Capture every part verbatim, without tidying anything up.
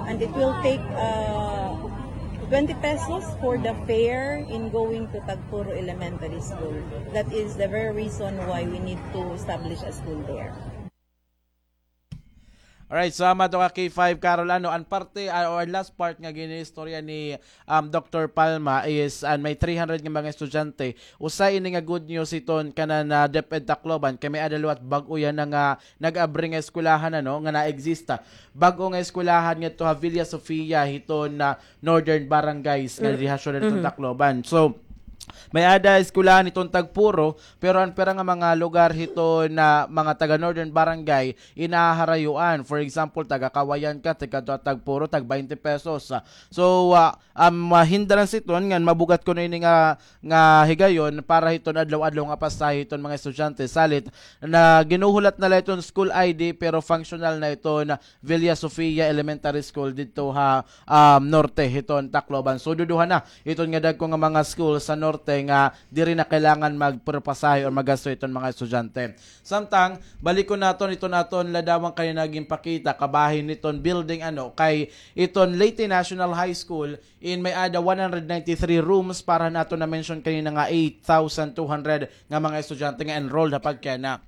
And it will take uh, twenty pesos for the fare in going to Tagpuro Elementary School. That is the very reason why we need to establish a school there. Alright, so ama to ka K five Carol, ano, an parte, uh, or last part nga gin-istorya ni um, Doctor Palma is an may three hundred nga mga estudyante. Usa ini nga good news hiton kanan DepEd Tacloban kay may-ada liwat bag-o yana nga nag-abri nga eskwelahan, ano, nga naegzista. Bag-o nga eskwelahan ngadto ha Villa Sofia hiton Northern Barangays nga diha syudad hiton Tacloban. So may-ada eskwelahan hiton Tagpuro, pero an pira nga mga lugar hiton mga taga Northern Barangay inaharayuan. For example, taga Cauayan ka, tikadto ha Tagpuro, tag twenty pesos. So uh, um, hindrance hiton ngan mabugat kuno ini nga nga higayon para hiton adlaw-adlaw nga pasahe hiton mga estudyante. Salit na ginuhulat na la hiton school I D pero functional na hiton Villa Sofia Elementary School didto ha um, norte hiton Tacloban. So duduha na hiton nga dagko nga mga school sa norte nga diri na kailangan magpasahe or magasto hiton mga estudyante. Samtang balikon naton hiton aton ladawan kanina ginpakita kabahin hiton building, ano, kay hiton Leyte National High School in may-ada one hundred ninety-three rooms para han aton na-mention kanina nga eight thousand two hundred nga mga estudyante nga enrolled ha pagkiana.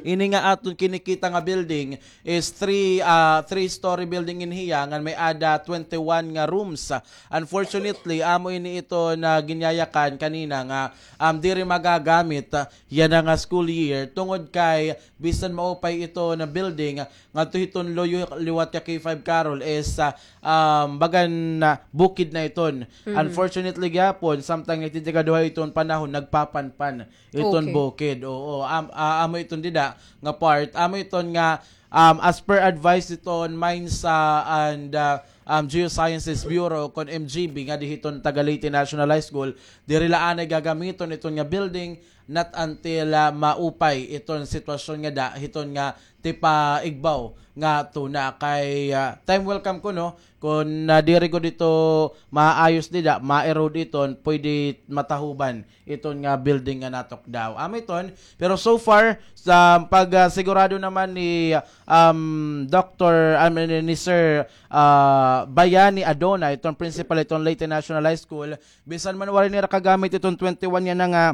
Ini nga aton kinikita nga building is three uh, three story building in hiya ngan may-ada twenty-one nga rooms. Unfortunately, amo ini hiton ginyayakan kanina nga um, diri magagamit uh, yana nga school year tungod kay bisan maupay hiton building ngadto hiton luyo liwat ka K five Carol is uh, um, bagan uh, bukid na hiton. Unfortunately gihapon, samtang nagtitikaduha hiton panahon, nagpapanpan hiton bukid. Oo, am, uh, amo hiton dida nga part, amo hiton nga um, as per advice hiton Mines uh, and uh, um, Geosciences Bureau kon M G B nga di hiton taga Leyte National High School, diri la anay gagamiton hiton nga building not until uh, maupay hiton sitwasyon nga da hiton nga tipaigbaw nga tuna. Kay uh, time will come kuno kon uh, diri gud ito maayos dida, ma-erode iton, pwede matahuban iton nga building nga natukdaw. Amo iton, pero so far sa pag uh, sigurado naman ni um, Doctor I mean, ni Sir uh, Bayani Adona, iton principal iton Leyte National High School, bisan man waray nira kagamit iton twenty-one yana nga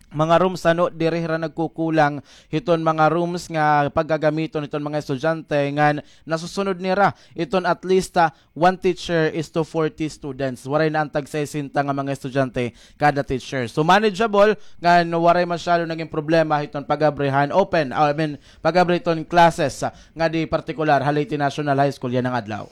mga rooms, ano, diri hira nagkukulang hiton mga rooms nga paggagamiton hiton mga estudyante ngan nasusunod nira iton at least uh, one teacher is to forty students. Waray na an tag sesenta nga mga estudyante kada teacher. So manageable ngan waray masyado naging problema hiton pag-abrihan open, I mean, pag-abri hiton classes uh, nga di partikular ha Leyte National High School yana nga adlaw.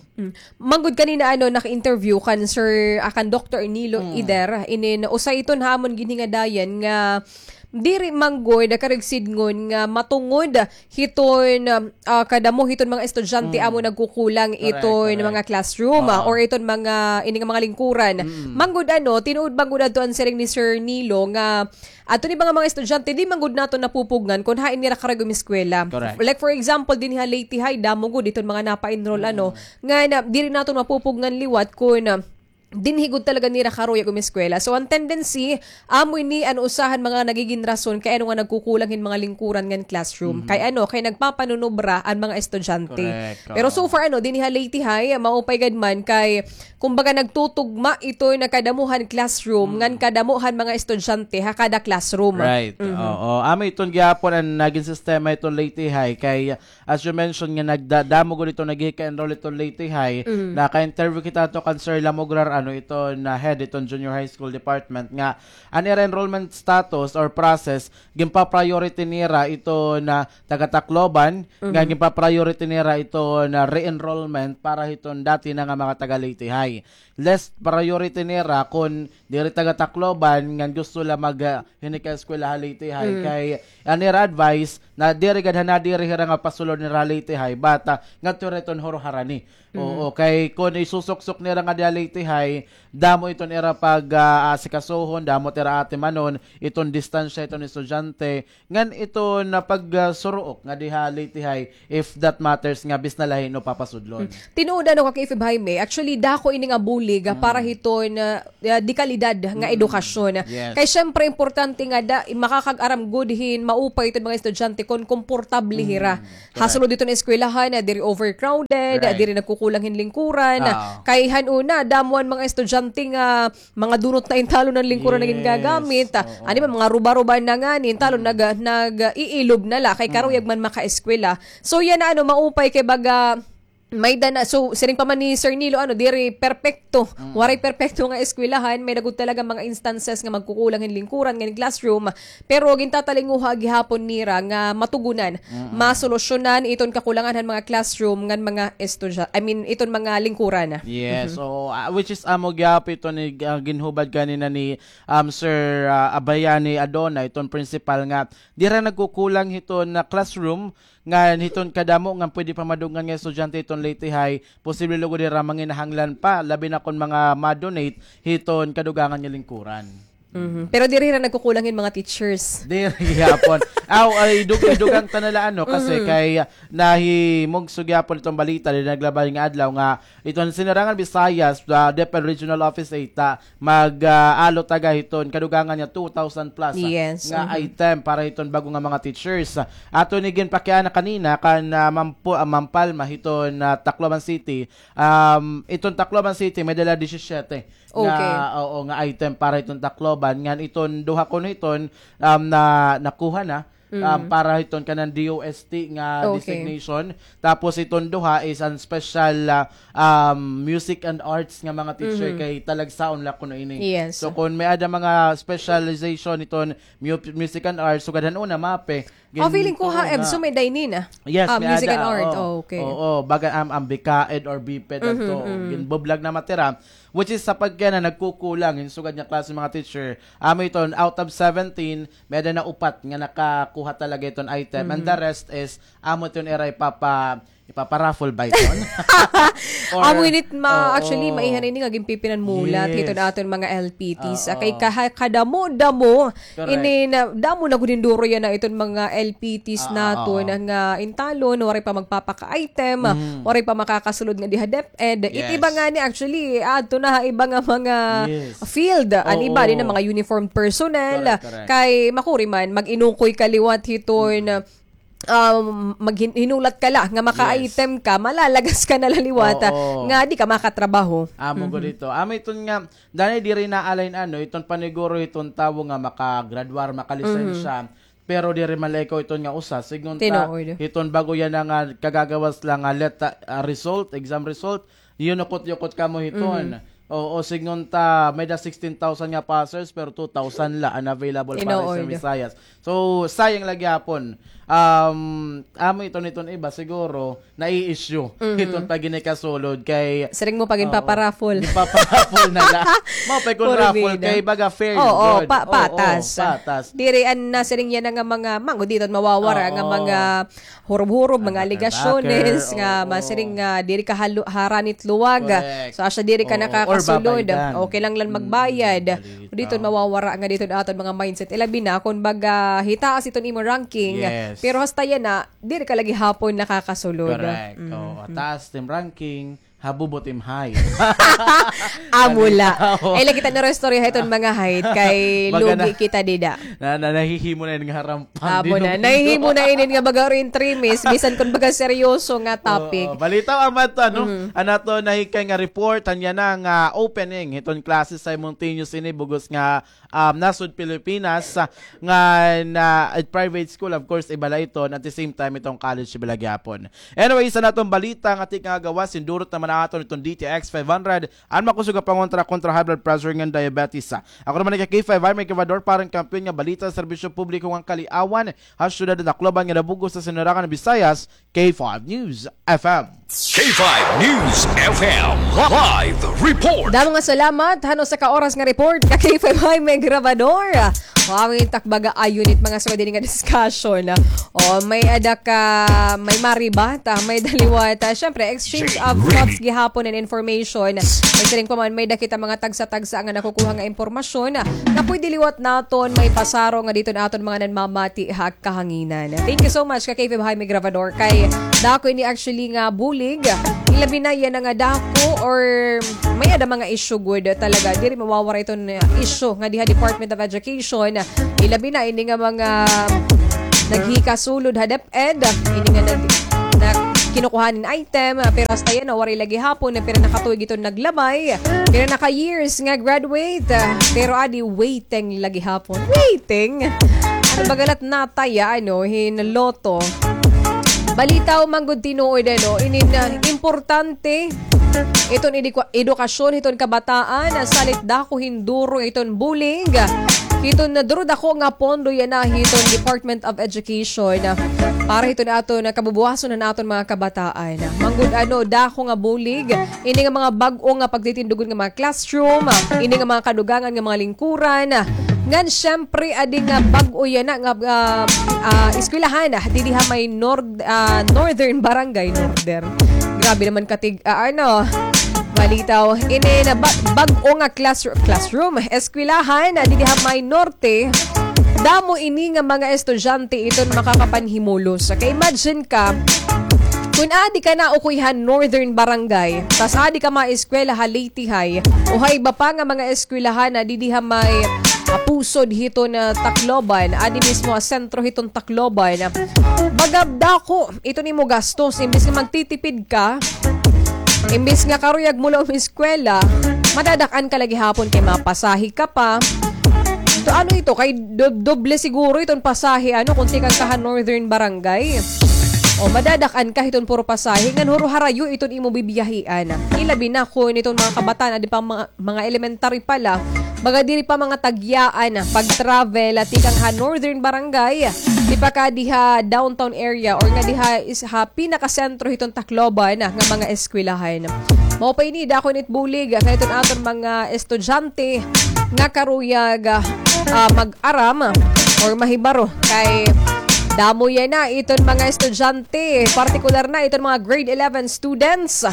Manggod kanina, ano, naka-interview kan Sir, ah, kan Doctor Nilo Ider, inin usa iton ha amon ginhingadayan nga diri manggod karuyag sidngon nga matungod hiton, ah, kadamo hiton mga estudyante amo nagkukulang iton mga classroom, ah, or iton mga, ini nga mga lingkuran. Manggod, ano, tinuod manggod adto an siring ni Sir Nilo nga adto ni mga, mga estudyante, di man gud naton napupugngan kon hain nira karuyag umiskwela. Like for example, dinhi ha Leyte High, damo gud iton mga napa-enroll, ano, nga na, diri naton mapupugngan liwat kon, ah, dinhi gud talaga nira karuyag umiskwela. So an tendency, amo ini an usa han mga nagigin rason kay ano nga nagkukulang hin mga lingkuran ngan classroom. Kay ano, kay nagpapanunubra an mga estudyante. Pero so far, ano, dinhi ha Leyte High, maupay gad man kay kumbaga nagtutugma ito na kadamo han classroom ngan kadamo han mga estudyante ha kada classroom. Right. Oo. Amo iton gihapon an nagin sistema iton Leyte High kay as you mentioned nga nagda-, damo gud iton naghika-enroll iton Leyte High. Naka-interview kita to kan Sir Lamograr, ano, iton head iton Junior High School Department nga an ira enrollment status or process ginpa-priority nira iton taga Tacloban, nga ginpa-priority nira iton re-enrollment para hiton dati na nga mga taga Leyte High. Less priority nira kon diri taga Tacloban ngan gusto la mag, ah, hinika-eskwela ha Leyte High. Kay an ira advice na diri gad ha nadiri hira nga pasulod nira ha Leyte High, but ah, ngadto hira iton Jaro Harani. Oo, kay kon isusuksok nira nga di ha Leyte High, damo iton ira pag, ah, asikasuhon, damo it ira atimanon, iton distansya iton estudyante, ngan iton, ah, pag, ah, suruok nga diha Leyte High, if that matters nga bisan na la hin-o papasudlon. Tinuod, ano, ka K five Jaime, actually, dako ini nga bulig, ah, para hiton, ah, ah, de kalidad nga edukasyon. Yes. Kay siyempre, importante nga da, makakag-aram gud hin maupay iton mga estudyante kon komportable hira. Correct. Hasulod iton eskwelahan, ah, diri overcrowded, ah, diri nagkukulang hin lingkuran. Kay han una, damo an mga estudyante nga mga dunot na intalon an lingkuran nga gingagamit. Yes, oo. Ano ba, mga ruba-ruba na ngani, intalon nag-, nag-iilob na la, kay karuyag man makaeskwela. So, yana, ano, maupay kay baga, may-ada na, so, siring pa man ni Sir Nilo, ano, diri perpekto. Waray perpekto nga eskwelahan, may-ada gud talaga mga instances nga magkukulang hin lingkuran, nga hin classroom, pero gintatalinguha gihapon nira nga matugunan, masolusyonan iton kakulangan han mga classroom ngan mga estudya-, I mean, iton mga lingkuran. Yes, so, ah, which is amo gihapon iton ni, ah, ginhubad kanina ni, um, Sir, ah, Abayani Adona, iton principal nga diri nagkukulang hiton na classroom, ngan hiton kadamo nga pwede pa madugangan nga estudyante hiton Leyte High, posible lugod hira manginahanglan pa, labi na kon mga ma-donate hiton kadugangan nga lingkuran. Mhm. Pero diri hira nagkukulang hin mga teachers. Diri gihapon. Aw, ay, dug-, idugang ta na la, ano, kasi kay, ah, nahimugso gihapon iton balita, diri naglabay nga adlaw nga iton Sinurangan Visayas, ah, DepEd Regional Office eight, ah, mag, ah, alo taga hiton kadugangan nga two thousand plus, ah, nga item para hiton bag-o nga mga teachers. Aton ini ginpakiana kanina kan, ah, Ma'am Pu-, ah, Ma'am Palma hiton, ah, Tacloban City. Um, iton Tacloban City may-ada la disisyete nga, oo, nga item para hiton Tacloban. Ngan iton duha kuno hiton, um, na nakuha na, um, para hiton kanan D O S T nga designation. Tapos iton duha is an special, ah, um, music and arts nga mga teacher kay talagsaon la kuno ini. Yes. So kon may-ada mga specialization iton mu-, music and arts, sugad han una, MAPEH. Ah, feeling ko ha EVSU may-ada ini na. Yes, ah, may-ada, music and art. Oo. Oh, okay. Oo, baga, um, an BCAED or BPED adto. Ginbublag na matira. Which is sa pagkana nagkukulang hin sugad nga klase mga teacher. Amo iton, out of seventeen, may-ada na upat nga nakakuha talaga iton item. And the rest is, amo iton ira ipapa-, ipapa-raffle ba iton? Amo ini it ma-, actually, maiha na ini nga ginpipinanmulat hiton aton mga L P Ts. Ah, kay kaha-, kadamo-damo, ini na, damo na gud hin duro yana iton mga L P Ts naton nga intalon, waray pa magpapaka-item, waray pa makakasulod nga diha DepEd. It iba ngani, actually, adto na ha iba nga mga field. An iba, di na mga uniformed personnel. Correct, correct. Kay makuri man, mag-inukoy ka liwat hiton, um, maghin-, hinulat ka la nga maka-item ka, malalagas ka na la liwat, nga di ka makatrabaho. Amo gud ito. Amo iton nga, danay diri na-align, ano, iton paniguro hiton tawo nga makagradwar, makalisensya, pero diri man la ikaw iton nga usa. Sidngon ta, hiton bag-o yana nga kagagawas la nga let-, ah, result, exam result, yukot-yukot kamo hiton. Oo, sidngon ta, may-ada sixteen thousand nga passers, pero two thousand la an available para sa Visayas. So, sayang la gihapon. Um, amo iton, iton iba, siguro, nai-issue hiton pagginikasulod kay siring mo pa ginpaparaffle. Ginpaparaffle na la. Mao pa kon raffle kay baga fair. Oo, patas. Patas. Diri an nasiring yana nga mga, mango, diri mawawara nga mga hurob-hurob, mga alegasyones nga masiring nga diri ka halu-, haranit luwag. Correct. So, asya diri ka nakakasulod. Okay lang lang magbayad. Diri mawawara nga diri aton mga mindset. Ilabi na kon baga hitaas iton imo ranking. Yes. Pero hasta yana, diri ka la gihapon nakakasulod. Correct. Oo, taas it im ranking, habubot im height. Amo la. Ay, lagi ta na istorya hiton mga height kay lugi kita dida. Na, na, nahihimo na ini nga harampan. Amo na. Nahihimo na ini nga baga rin trimis, bisan kon baga seryoso nga topic. Oo, balita, amo adto, no? An aton nahikay nga report, an yana nga opening hiton klase simultaneous ini bug-os nga um, nasud Pilipinas, ah, nga na, ah, private school, of course, iba la iton, at the same time, iton college, iba la gihapon. Anyways, an aton balita nga tikang gawas, hindurot naman naton iton D T X five hundred, an makusog nga pangontra kontra high blood pressure ngan diabetes. Ah, ako naman ni K five I, may gobernador para han kampiyon nga balita, serbisyo publiko ngan kaliawan, ha syudad han Tacloban nga nabug-os sa Sinurangan Visayas, K five News F M. K five News F M live report. Damo nga salamat han usa ka oras nga report ka K five Jaime Grabador. Wow, it ak baga a unit, mga sugad hini nga discussion. O, may-ada ka, may maribata, may-ada liwat. Siyempre, exchange of thoughts gihapon and information. May siring pa man, may-ada kita mga tagsa-tagsa nga nakukuha nga impormasyon nga pwede liwat naton maipasaro ngadi hiton aton mga nanmamati ha kahanginan. Thank you so much ka K five Jaime Grabador. Kay dako ini actually nga bulig. Ilabi na yana nga dako or may-ada mga issue gud talaga. Diri mawawara iton, uh, issue ngadi ha Department of Education. Ilabi na ini nga mga naghikasulod ha DepEd. Ini nga nag-, na kinukuha hin item, ah, pero hasta yana, waray la gihapon, ah, pira na ka tuig iton naglabay. Pira na ka years nga graduate, ah, pero adi, waiting la gihapon. Waiting? Ano ba galat nataya, ano, hin lotto? Balitaw man gud tinuod, ano, inin, ah, importante iton edukasyon hiton kabataan, ah, salit dako hin duro iton bulig. Hiton duro dako nga pondo yana hiton Department of Education, ah, para hiton aton, ah, kabubuhason han aton mga kabataan. Manggud ano, dako nga bulig, ini nga mga bag-o nga pagtitindugon nga mga classroom, ah, ini nga mga kadugangan nga mga lingkuran, ah, ngan siyempre, adi nga bag-o yana nga, ah, ah, eskwelahan, ah, didi ha may nord-, ah, Northern Barangay, Northern. Grabe naman katig-, ah, ano, balitaw. Ini na ba-, bag-o nga classroom, classroom, eskwelahan, ah, didi ha may norte. Damo ini nga mga estudyante iton makakapanhimulos. Kay imagine ka, kun adi ka na ukoy ha Northern Barangay, tas adi ka maeskwela ha Leyte High, o ha iba pa nga mga eskwelahan na didi ha may, ah, pusod hiton Tacloban, adi mismo ha sentro hiton Tacloban. Baga dako iton imo gastos, imbis nga magtitipid ka, imbis nga karuyag mo la umiskwela, madadak-an ka la gihapon kay mapasahe ka pa. To, ano ito, kay do-, doble siguro iton pasahe, ano, kun tikang ka ha Northern Barangay. O, madadak-an ka hiton puro pasahe, ngan huro harayo iton imo bibiyahian. Ilabi na kun iton mga kabataan, adi pa mga mga elementary pa la, baga diri pa mga tagyaan pag-travel, ah, tikang ha Northern Barangay, tipakadi ha downtown area or ngadi ha is-, ha pinakasentro hiton Tacloban, ah, nga mga eskwelahan. Mao pa ini, dako ini it bulig, ah, kay iton aton mga estudyante nga karuyag, ah, ah, mag-aram or mahibaro kay damo yana iton mga estudyante, partikular na iton mga grade eleven students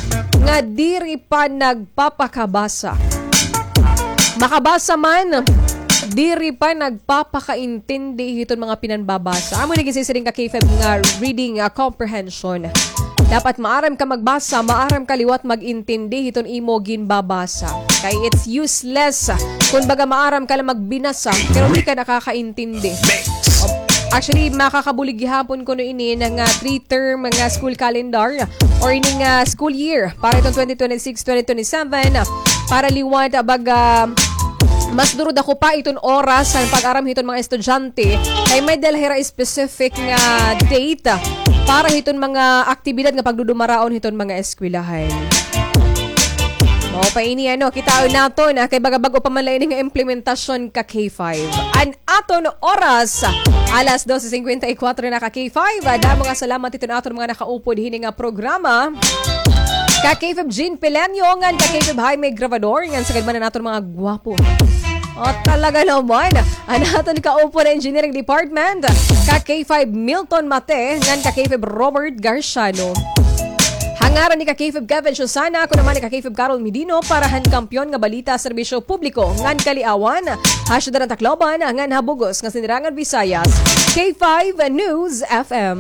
nga diri pa nagpapakabasa. Makabasa man, diri pa nagpapakaintindi hiton mga pinanbabasa. Amo ini ginsiring ka K five nga reading, ah, comprehension. Dapat maaram ka magbasa, maaram ka liwat mag-intindi hiton imo ginbabasa. Kay it's useless kun baga maaram ka la magbinasa, pero di ka nakakaintindi. Actually, makakabulig gihapon kuno ini nga three-term nga school calendar or ini nga school year para itong twenty twenty-six, twenty twenty-seven, para liwat, ah, baga mas duro dako pa iton oras sa pag-aram hiton mga estudyante kay may-ada la hira specific nga date para hiton mga aktibidad nga pagdudumaraon hiton mga eskwelahan. Mao pa ini, ano, kitaon naton, ah, kay baga bag-o pa man la ini nga implementasyon ka K five. An aton oras, alas dose singkwenta y kuwatro na ka K five. Ah, damo nga salamat hiton aton mga nakaupod hini nga programa. Ka K five Jean Pileño, ngan ka K five Jaime Grabador, ngan sagad man an aton mga gwapo. O, talaga naman. An aton kaupod ha Engineering Department, ka K five Milton Mate, ngan ka K five Robert Garciano. Ha ngaran ni ka K five Kevin Susana, ako naman ni ka K five Carol Medino para han Kampiyon nga Balita, Serbisyo Publiko ngan Kaliawan, ha syudad han Tacloban ngan ha bug-os nga Sinirangan Visayas, K five News F M.